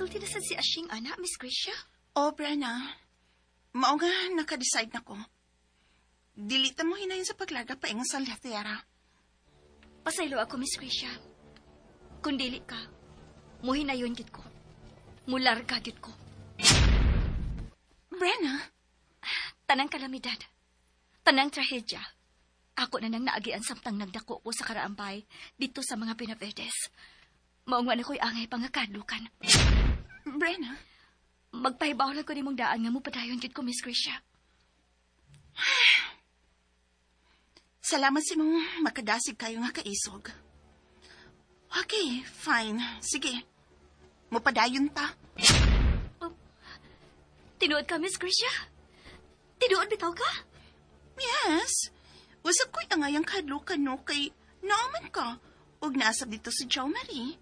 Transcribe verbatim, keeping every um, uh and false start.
Nakasulti na sad si Ashing, ana, Miss Gracia? Oh, Brenna. Mao nga naka-decide na ko. Dili ta mo hinayon sa paglarga paingon sa Latiera. Pasaylo ako, Miss Gracia. Kung dili ka, muhinayon gid ko. Mularga gid ko. Brenna, Tanang kalamidad. Tanang trahedya. Ako na nang naagian samtang nagdako ko sa karaambay dito sa mga Pinavedes. Mao nga na ko'y angay pangakadlukan. Brenna, Magpahibaw lang ko nimong daan nga mo padayon gid ko, Miss Gracia. Salamat sa imong makadasig kayo nga kaisog. Okay, fine. Sige. Mupadayon ta. Tinuod ka, Miss Gracia? Tinuod bitaw ka? Yes. Usab ko'y angayang kahadlukan no kay naaman ka. Ug naasab dito si Jo Marie.